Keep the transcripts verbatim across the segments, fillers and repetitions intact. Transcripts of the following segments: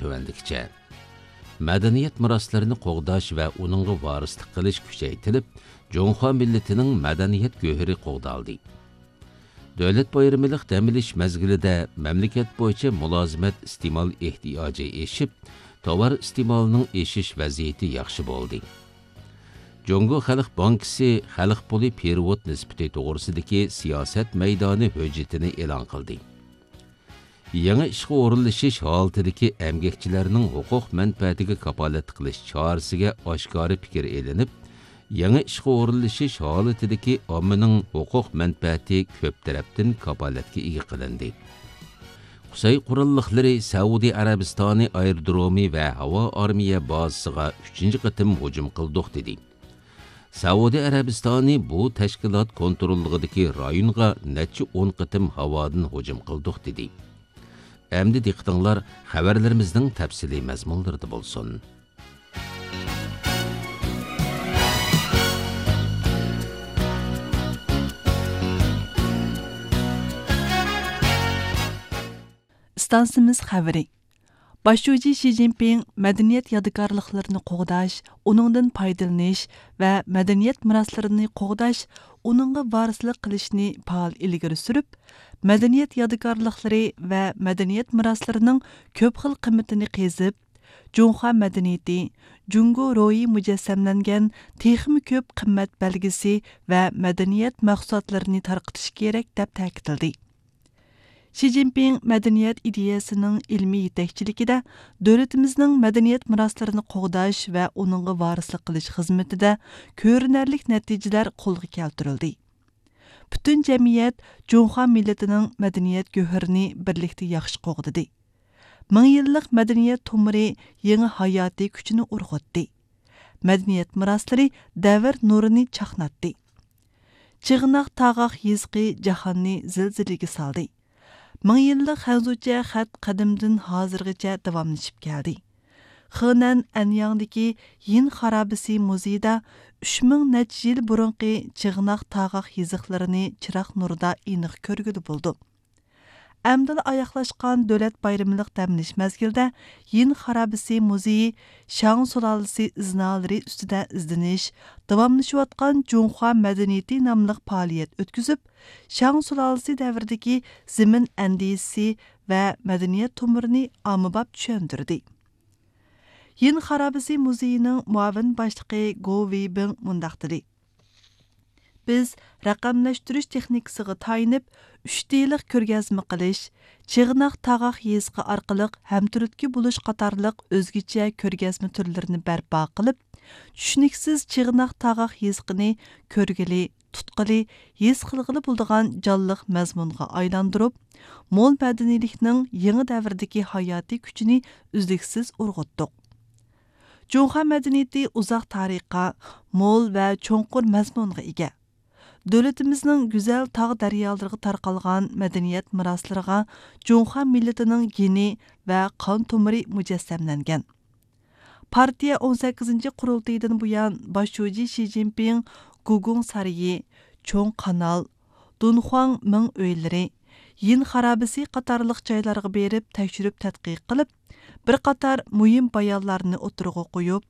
تۆۋەندىكىچە. مەدەنىيەت مىراسلىرىنى قوغداش ۋە ئۇنىڭغا ۋارىسلىق قىلىش كۈچەيتىلىپ، جۇڭخۇا مىللىتىنىڭ مەدەنىيەت گۆھىرى قوغدالدى. دۆلەت بايرىمىلىق دەم ئېلىش مەزگىلىدە مەملىكەت بويىچە مۇلازىمەت ئىستېمال ئېھتىياجى ئېشىپ، تاۋار ئىستېمالىنىڭ ئېشىش ۋەزىيىتى ياخشى بولدى. جۇڭگو خەلق بانكىسى خەلق پۇلى پېرېۋوت نىسبىتى توغرىسىدىكى سىياسەت مەيدانى ھۆججىتىنى ئېلان قىلدى. يېڭى ئىشقا ئورۇنلىشىش ھالىتىدىكى ئەمگەكچىلەرنىڭ ھوقۇق مەنپەئەتىگە كاپالەتلىك قىلىش چارىسىگە ئاشكارا پىكىر ئېلىنىپ، يېڭى ئىشقا ئورۇنلىشىش ھالىتىدىكى ئاممىنىڭ ھوقۇق مەنپەئەتى كۆپ تەرەپتىن كاپالەتكە ئىگە قىلىندى. قۇسەي قوراللىقلىرى سەئۇدى ئەرەبىستانى ئايرودرومى ۋە ھاۋا ئارمىيە بازىسىغا ئۈچىنچى قېتىم ھۇجۇم قىلدۇق، دېدى. سەئۇدى ئەرەبىستانى بۇ تەشكىلات كونتروللۇقىدىكى رايونغا نەچچە ئون قېتىم ھاۋادىن ھۇجۇم قىلدۇق، دېدى. ئەمدى دىققىتىڭلار خەۋەرلىرىمىزنىڭ تەپسىلىي مەزمۇنلىرىدا بولسۇن. ئىستانسىمىز خەۋىرى. باش شۇجى شى جىنپىڭ مەدەنىيەت يادىكارلىقلىرىنى قوغداش، ئۇنىڭدىن پايدىلىنىش ۋە مەدەنىيەت مىراسلىرىنى قوغداش، ئۇنىڭغا ۋارىسلىق قىلىشنى پائال ئىلگىرى سۈرۈپ، مەدەنىيەت يادىكارلىقلىرى ۋە مەدەنىيەت مىراسلىرىنىڭ كۆپ خىل قىممىتىنى قېزىپ، جۇڭخۇا مەدەنىيىتى، جۇڭگو روھى مۇجەسسەملەنگەن تېخىمۇ كۆپ قىممەت بەلگىسى ۋە مەدەنىيەت مەھسۇلاتلىرىنى تارقىتىش كېرەك، دەپ تەكىتلىدى. شى جىنپىڭ مەدەنىيەت ئىدىيەسىنىڭ ئىلمىي يېتەكچىلىكىدە دۆلىتىمىزنىڭ مەدەنىيەت مىراسلىرىنى قوغداش ۋە ئۇنىڭغا ۋارىسلىق قىلىش خىزمىتىدە كۆرۈنەرلىك نەتىجىلەر قولغا كەلتۈرۈلدى. پۈتۈن جەمئىيەت جۇڭخۇا مىللىتىنىڭ مەدەنىيەت گۆھىرىنى بىرلىكتە ياخشى قوغدىدى. مىڭ يىللىق مەدەنىيەت تومۇرى يېڭى ھاياتىي كۈچىنى ئۇرغۇتتى. مەدەنىيەت مىراسلىرى دەۋر نۇرىنى چاقناتتى. چىغناق تاغاق يېزىقى جاھاننى زىلزىلىگە سالدى. مىڭ يىللىق خەنزۇچە خەت قەدىمدىن ھازىرغىچە داۋاملىشىپ كەلدى. خېنەن ئەنياڭدىكى يىن خارابىسى مۇزېيىدا ئۈچ مىڭ نەچچە يىل بۇرۇنقى چىغناق تاغاق يېزىقلىرىنى چىراغ نۇرىدا ئېنىق كۆرگىلى بولىدۇ. ئەمدىلا ئاياغلاشقان دۆلەت بايرىملىق دەم ئېلىش مەزگىلىدە يىن خارابىسى مۇزېيى شاڭ سۇلالىسى ئىزنالىرى ئۈستىدە ئىزدىنىش، داۋاملىشىۋاتقان جۇڭخۇا مەدەنىيىتى ناملىق پائالىيەت ئۆتكۈزۈپ، شاڭ سۇلالىسى دەۋرىدىكى زېمىن ئەندىزىسى ۋە مەدەنىيەت تومۇرىنى ئاممىباب چۈشەندۈردى. يىن خارابىسى مۇزېيىنىڭ مۇئاۋىن باشلىقى گو ۋېيبىڭ مۇنداق دېدى: بىز رەقەملەشتۈرۈش تېخنىكىسىغا تايىنىپ، ئۈچ دېلىق كۆرگەزمە قىلىش، چىغناق تاغاق يېزىقى ئارقىلىق ھەمتۈرتكە بولۇش قاتارلىق ئۆزگىچە كۆرگەزمە تۈرلىرىنى بەرپا قىلىپ، چۈشىنىكسىز چىغناق تاغاق يېزىقىنى كۆرگىلى، تۇتقىلى، ھېس قىلغىلى بولىدىغان جانلىق مەزمۇنغا ئايلاندۇرۇپ، مول مەدەنىيلىكنىڭ يېڭى دەۋردىكى ھاياتىي كۈچىنى ئۈزلۈكسىز ئۇرغۇتتۇق. جۇڭخۇا مەدەنىيىتى ئۇزاق تارىخقا، مول ۋە چوڭقۇر مەزمۇنغا ئىگە. دۆلىتىمىزنىڭ گۈزەل تاغ دەريالىرىغا تارقالغان مەدەنىيەت مىراسلىرىغا جۇڭخۇا مىللىتىنىڭ گېنى ۋە قان تومۇرى مۇجەسسەملەنگەن. پارتىيە ئون سەككىزىنچى قۇرۇلتىيىدىن بۇيان، باش شۇجى شى جىنپىڭ گۇگۇڭ سارىيى، چوڭ قانال، دۇنخۇاڭ مىڭ ئۆيلىرى، يىن خارابىسى قاتارلىق جايلارغا بېرىپ تەكشۈرۈپ تەتقىق قىلىپ، بىر قاتار مۇھىم بايانلارنى ئوتتۇرىغا قويۇپ،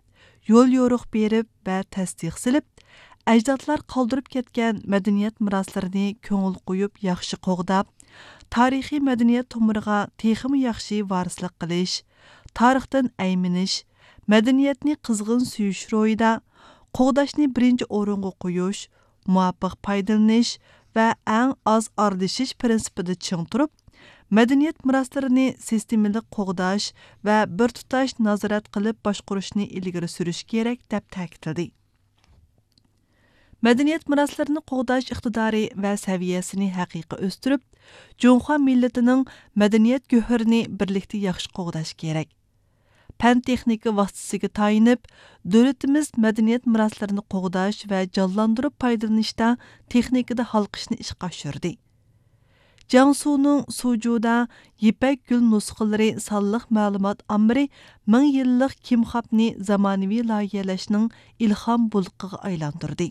يول يورۇق بېرىپ ۋە تەستىق سېلىپ، ئەجدادلار قالدۇرۇپ كەتكەن مەدەنىيەت مىراسلىرىنى كۆڭۈل قويۇپ ياخشى قوغداپ، تارىخىي مەدەنىيەت تومۇرىغا تېخىمۇ ياخشى ۋارىسلىق قىلىش، تارىختىن ئەيمىنىش، مەدەنىيەتنى قىزغىن سۆيۈش روھىدا، قوغداشنى بىرىنچى ئورۇنغا قويۇش، مۇۋاپىق پايدىلىنىش ۋە ئەڭ ئاز ئارىلىشىش پىرىنسىپىدا چىڭ تۇرۇپ، مەدەنىيەت مىراسلىرىنى سىستېمىلىق قوغداش ۋە بىر تۇتاش نازارەت قىلىپ باشقۇرۇشنى ئىلگىرى سۈرۈش كېرەك، دەپ تەكىتلىدى. مەدەنىيەت مىراسلىرىنى قوغداش ئىقتىدارى ۋە سەۋىيەسىنى ھەقىقىي ئۆستۈرۈپ، جۇڭخۇا مىللىتىنىڭ مەدەنىيەت گۆھىرىنى بىرلىكتە ياخشى قوغداش كېرەك. پەن-تېخنىكا ۋاسىتىسىگە تايىنىپ، دۆلىتىمىز مەدەنىيەت مىراسلىرىنى قوغداش ۋە جانلاندۇرۇپ پايدىلىنىشتا تېخنىكىدا ھالقىشنى ئىشقا ئاشۇردى. جياڭسۇنىڭ سۇجۇدا يىپەك گۈل نۇسخىلىرى سانلىق مەلۇمات ئامبىرى مىڭ يىللىق كىمخابنى زامانىۋى لايىھەلەشنىڭ ئىلھام بۇلقىغا ئايلاندۇردى.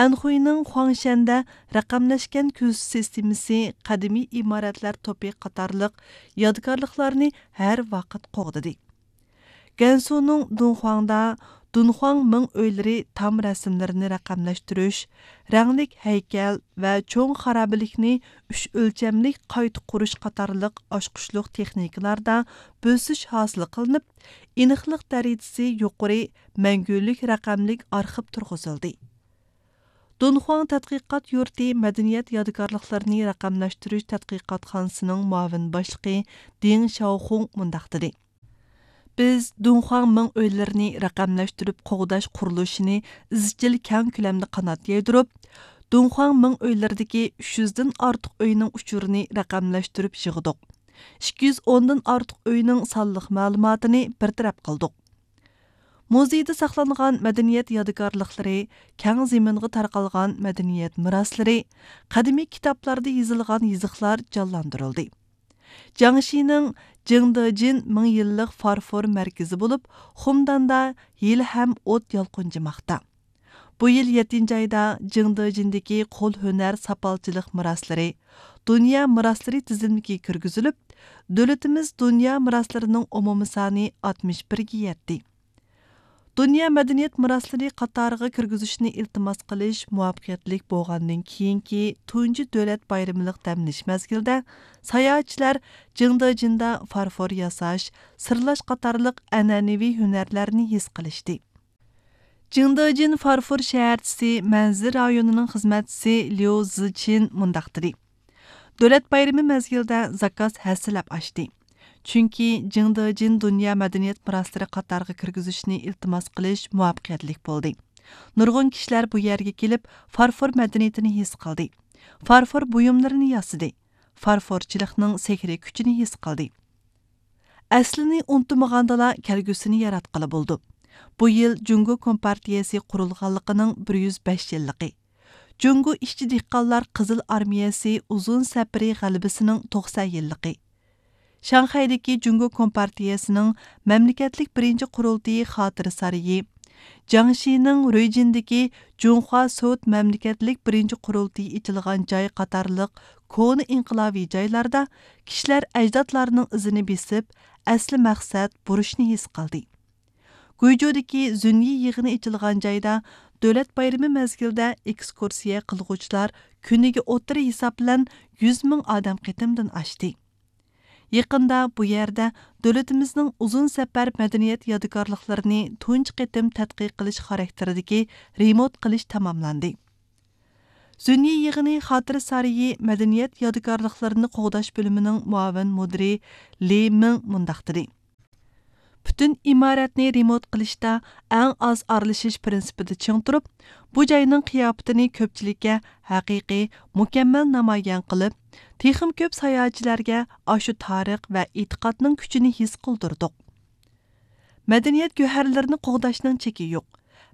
ئەنخۇينىڭ خۇاڭشەندە رەقەملەشكەن كۆزىتىش سىستېمىسى، قەدىمىي ئىمارەتلەر توپى قاتارلىق يادىكارلىقلارنى ھەر ۋاقىت قوغدىدى. گەنسۇنىڭ دۇنخۇاڭدا دۇنخۇاڭ مىڭ ئۆيلىرى تام رەسىملىرىنى رەقەملەشتۈرۈش، رەڭلىك ھەيكەل ۋە چوڭ خارابىلىكنى ئۈچ ئۆلچەملىك قايتا قۇرۇش قاتارلىق ئاچقۇچلۇق تېخنىكىلاردا بۆسۈش ھاسىل قىلىنىپ، ئېنىقلىق دەرىجىسى يۇقىرى مەڭگۈلۈك رەقەملىك ئارخىپ تۇرغۇزۇلدى. دۇنخۇاڭ تەتقىقات يۇرتى مەدەنىيەت يادىكارلىقلىرىنى رەقەملەشتۈرۈش تەتقىقاتخانىسىنىڭ مۇئاۋىن باشلىقى دىڭ شياۋخۇڭ مۇنداق دېدى: بىز دۇنخۇاڭ مىڭ ئۆيلىرىنى رەقەملەشتۈرۈپ قوغداش قۇرۇلۇشىنى ئىزچىل كەڭ كۆلەمدە قانات يايدۇرۇپ، دۇنخۇاڭ مىڭ ئۆيلىرىدىكى ئۈچ يۈزدىن ئارتۇق ئۆينىڭ ئۇچۇرىنى رەقەملەشتۈرۈپ يىغدۇق. ئىككى يۈز ئوندىن ئارتۇق ئۆينىڭ سانلىق مەلۇماتىنى بىر تەرەپ قىلدۇق. مۇزېيدا ساقلانغان مەدەنىيەت يادىكارلىقلىرى، كەڭ زېمىنغا تارقالغان مەدەنىيەت مىراسلىرى، قەدىمىي كىتابلاردا يېزىلغان يېزىقلار جانلاندۇرۇلدى. جياڭشىنىڭ جىڭدېجىن مىڭ يىللىق فارفور مەركىزى بولۇپ، خۇمداندا ھېلىھەم ئوت يالقۇنجىماقتا. بۇ يىل يەتتىنچى ئايدا جىڭدېجىندىكى قول ھۈنەر ساپالچىلىق مىراسلىرى دۇنيا مىراسلىرى تىزىملىكىگە كىرگۈزۈلۈپ، دۆلىتىمىز دۇنيا مىراسلىرىنىڭ ئومۇمىي سانى ئاتمىش بىرگە يەتتى. دۇنيا مەدەنىيەت مىراسلىرى قاتارىغا كىرگۈزۈشنى ئىلتىماس قىلىش مۇۋەپپەقىيەتلىك بولغاندىن كېيىنكى تۇنجى دۆلەت بايرىملىق دەم ئېلىش مەزگىلىدە، ساياھەتچىلەر جىڭدېجىندا فارفور ياساش، سىرلاش قاتارلىق ئەنئەنىۋى ھۈنەرلەرنى ھېس قىلىشتى. جىڭدېجىن فارفور شەھەرچىسى، مەنزىرە رايونىنىڭ خىزمەتچىسى ليۇ زىچىن مۇنداق دېدى: دۆلەت بايرىمى مەزگىلىدە زاكاز ھەسسىلەپ ئاشتى. چۈنكى جىڭدېجىن دۇنيا مەدەنىيەت مىراسلىرى قاتارىغا كىرگۈزۈشنى ئىلتىماس قىلىش مۇۋەپپەقىيەتلىك بولدى. نۇرغۇن كىشىلەر بۇ يەرگە كېلىپ، فارفور مەدەنىيىتىنى ھېس قىلدى. فارفور بۇيۇملىرىنى ياسىدى. فارفورچىلىقنىڭ سېھرىي كۈچىنى ھېس قىلدى. ئەسلىنى ئۇنتۇمىغاندىلا، كەلگۈسىنى ياراتقىلى بولىدۇ. بۇ يىل جۇڭگو كومپارتىيەسى قۇرۇلغانلىقىنىڭ بىر يۈز بەش يىللىقى. جۇڭگو ئىشچى دېھقانلار قىزىل ئارمىيەسى ئۇزۇن سەپىرى غەلىبىسىنىڭ توقسان يىللىقى. شاڭخەيدىكى جۇڭگو كومپارتىيەسىنىڭ مەملىكەتلىك بىرىنچى قۇرۇلتىيى خاتىرە سارىيى، جياڭشىنىڭ رۇيجىندىكى جۇڭخۇا سوۋېت مەملىكەتلىك بىرىنچى قۇرۇلتىيى ئېچىلغان جاي قاتارلىق كونا ئىنقىلابىي جايلاردا كىشىلەر ئەجدادلارنىڭ ئىزىنى بېسىپ، ئەسلى مەقسەت بۇرچنى ھېس قىلدى. گۇيجۇدىكى زۈنيى يىغىنى ئېچىلغان جايدا دۆلەت بايرىمى مەزگىلىدە ئېكسكۇرسىيە قىلغۇچىلار كۈنىگە ئوتتۇرا ھېساب بىلەن يۈز مىڭ ئادەم قېتىمدىن ئاشتى. يېقىندا بۇ يەردە دۆلىتىمىزنىڭ ئۇزۇن سەپەر مەدەنىيەت يادىكارلىقلىرىنى تۇنجى قېتىم تەتقىق قىلىش خاراكتېرىدىكى رېمونت قىلىش تاماملاندى. زۈنيى يىغىنى خاتىرە سارىيى مەدەنىيەت يادىكارلىقلىرىنى قوغداش بۆلۈمىنىڭ مۇئاۋىن مۇدىرى لى مىڭ مۇنداق دېدى: پۈتۈن ئىمارەتنى رېمونت قىلىشتا ئەڭ ئاز ئارىلىشىش پىرىنسىپىدا چىڭ تۇرۇپ، بۇ جاينىڭ قىياپىتىنى كۆپچىلىككە ھەقىقىي، مۇكەممەل نامايان قىلىپ، تېخىمۇ كۆپ ساياھەتچىلەرگە ئاشۇ تارىخ ۋە ئېتىقادنىڭ كۈچىنى ھېس قىلدۇردۇق. مەدەنىيەت گۆھەرلىرىنى قوغداشنىڭ چېكى يوق.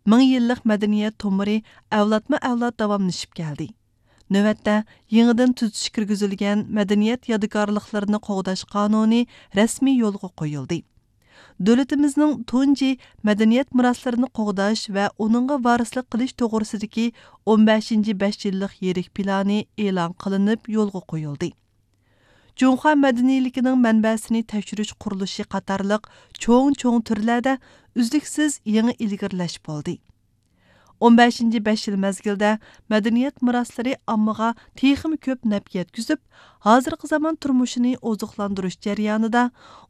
مىڭ يىللىق مەدەنىيەت تومۇرى ئەۋلادمۇ ئەۋلاد داۋاملىشىپ كەلدى. نۆۋەتتە، يېڭىدىن تۈزىتىش كىرگۈزۈلگەن مەدەنىيەت يادىكارلىقلىرىنى قوغداش قانۇنى رەسمىي يولغا قويۇلدى. دۆلىتىمىزنىڭ تۇنجى مەدەنىيەت مىراسلىرىنى قوغداش ۋە ئۇنىڭغا ۋارىسلىق قىلىش توغرىسىدىكى ئون بەشىنچى بەش يىللىق يىرىك پىلانى ئېلان قىلىنىپ يولغا قويۇلدى. جۇڭخۇا مەدەنىيلىكىنىڭ مەنبەسىنى تەكشۈرۈش قۇرۇلۇشى قاتارلىق چوڭ-چوڭ تۈرلەردە ئۈزلۈكسىز يېڭى ئىلگىرىلەش بولدى. ئون بەشىنچى بەش يىل مەزگىلدە مەدەنىيەت مىراسلىرى ئاممىغا تېخىمۇ كۆپ نەپ يەتكۈزۈپ، ھازىرقى زامان تۇرمۇشىنى ئوزۇقلاندۇرۇش جەريانىدا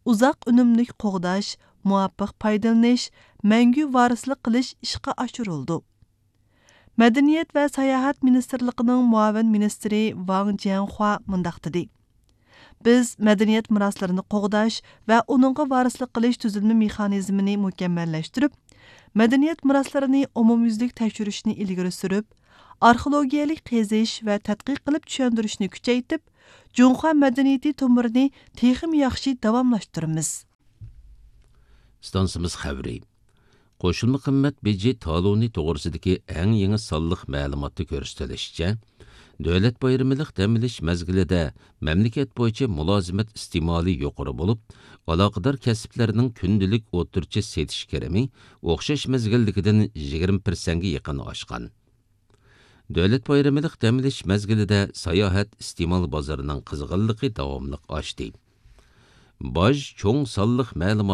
ئۇزاق ئۈنۈملۈك قوغداش، مۇۋاپىق پايدىلىنىش، مەڭگۈ ۋارىسلىق قىلىش ئىشقا ئاشۇرۇلىدۇ. مەدەنىيەت ۋە ساياھەت مىنىستىرلىقىنىڭ مۇئاۋىن مىنىستىرى ۋاڭ جيەنخۇا مۇنداق دېدى: بىز مەدەنىيەت مىراسلىرىنى قوغداش ۋە ئۇنىڭغا ۋارىسلىق قىلىش تۈزۈلمە مېخانىزمىنى مۇكەممەللەشتۈرۈپ، مەدەنىيەت مىراسلىرىنى ئومۇميۈزلۈك تەكشۈرۈشنى ئىلگىرى سۈرۈپ، ئارخېئولوگىيەلىك قېزىش ۋە تەتقىق قىلىپ چۈشەندۈرۈشنى كۈچەيتىپ، جۇڭخۇا مەدەنىيىتى تومۇرىنى تېخىمۇ ياخشى داۋاملاشتۇرىمىز. ئىستانسىمىز خەۋىرى. قوشۇلما قىممەت بېجى تالونى توغرىسىدىكى ئەڭ يېڭى سانلىق مەلۇماتتا كۆرسىتىلىشىچە، دۆلەت بايرىمىلىق دەم ئېلىش مەزگىلىدە مەملىكەت بويىچە مۇلازىمەت ئىستېمالى يۇقىرى بولۇپ، ئالاقىدار كەسىپلەرنىڭ كۈندىلىك ئوتتۇرىچە سېتىش كىرىمى ئوخشاش مەزگىلدىكىدىن يىگىرمە پىرسەنتكە يېقىن ئاشقان. دۆلەت بايرىملىق دەم ئېلىش مەزگىلىدە ساياھەت ئىستېمال بازىرىنىڭ قىزغىنلىقى داۋاملىق ئاشتى. باج چوڭ سانلىق مەلۇمات